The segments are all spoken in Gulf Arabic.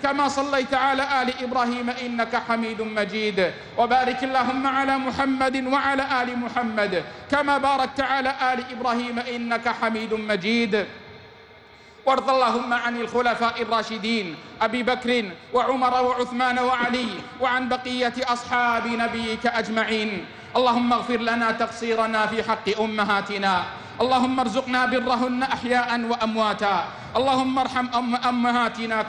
كما صليت على آل إبراهيم إنك حميد مجيد. وبارك اللهم على محمد وعلى آل محمد كما باركت على آل إبراهيم إنك حميد مجيد. وارض اللهم عن الخلفاء الراشدين أبي بكر وعمر وعثمان وعلي وعن بقية أصحاب نبيك أجمعين. اللهم اغفر لنا تقصيرنا في حق أمهاتنا، اللهم ارزقنا برهن أحياء وأمواتا. اللهم ارحم أمهاتنا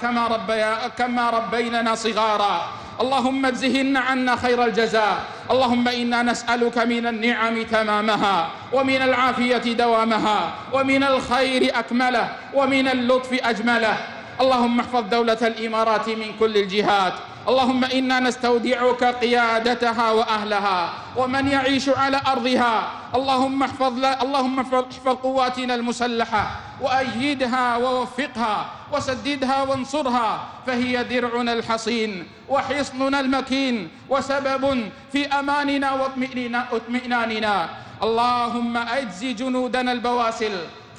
كما ربيننا صغارا. اللهم اجزهن عنا خير الجزاء. اللهم إنا نسألك من النعم تمامها، ومن العافية دوامها، ومن الخير أكمله، ومن اللطف أجمله. اللهم احفظ دولة الإمارات من كل الجهات. اللهم إنا نستودعك قيادتها وأهلها ومن يعيش على أرضها. اللهم احفظ قواتنا المسلحة وأيدها ووفقها وسددها وانصرها، فهي درعنا الحصين وحصننا المكين وسبب في أماننا واطمئناننا. اللهم أجز جنودنا البواسل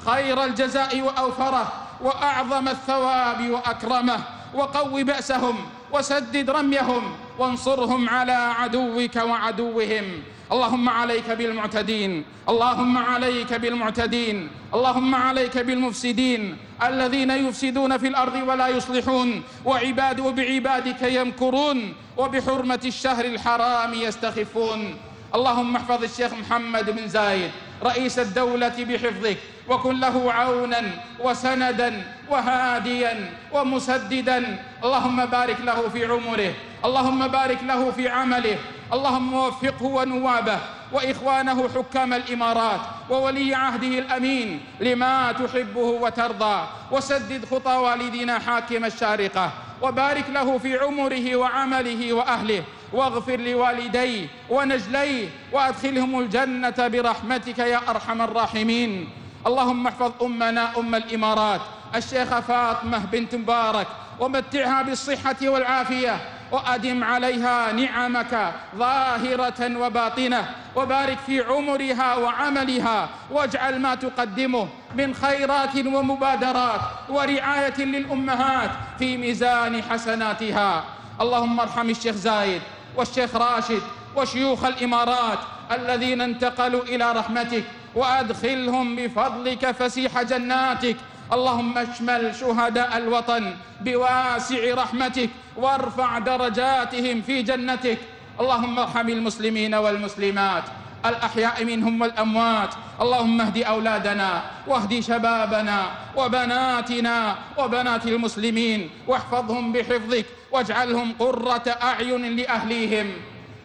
خير الجزاء وأوفره وأعظم الثواب وأكرمه، وقو بأسهم وسدد رميهم وانصرهم على عدوك وعدوهم. اللهم عليك بالمعتدين، اللهم عليك بالمعتدين، اللهم عليك بالمفسدين الذين يفسدون في الأرض ولا يصلحون، وبعبادك يمكرون، وبحرمة الشهر الحرام يستخفون. اللهم احفظ الشيخ محمد بن زايد رئيس الدولة بحفظك، وكن له عونا وسندا وهاديا ومسددا. اللهم بارك له في عمره، اللهم بارك له في عمله، اللهم وفقه ونوابه وإخوانه حكام الإمارات وولي عهده الأمين لما تحبه وترضى، وسدد خطى والدنا حاكم الشارقة، وبارك له في عمره وعمله وأهله، واغفر لوالديه ونجليه وأدخلهم الجنة برحمتك يا أرحم الراحمين. اللهم احفظ أمنا أم الإمارات الشيخة فاطمة بنت مبارك، ومتعها بالصحة والعافية، وأدم عليها نعمك ظاهرة وباطنة، وبارك في عمرها وعملها، واجعل ما تقدمه من خيرات ومبادرات ورعاية للأمهات في ميزان حسناتها. اللهم ارحم الشيخ زايد والشيخ راشد وشيوخ الإمارات الذين انتقلوا إلى رحمتك، وأدخلهم بفضلك فسيح جناتك. اللهم اشمل شهداء الوطن بواسع رحمتك، وارفع درجاتهم في جنتك. اللهم ارحم المسلمين والمسلمات الأحياء منهم والأموات. اللهم اهد أولادنا واهد شبابنا وبناتنا وبنات المسلمين، واحفظهم بحفظك، واجعلهم قرة أعين لأهليهم.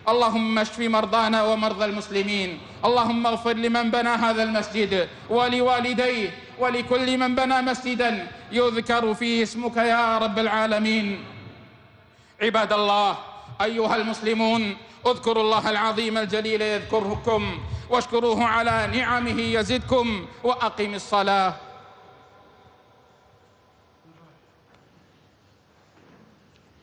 اللهم اشف مرضانا ومرضى المسلمين. اللهم اغفر لمن بنى هذا المسجد ولوالديه ولكل من بنى مسجدا يذكر فيه اسمك يا رب العالمين. عباد الله، أيها المسلمون، اذكروا الله العظيم الجليل يذكركم، واشكروه على نعمه يزدكم، وأقم الصلاة.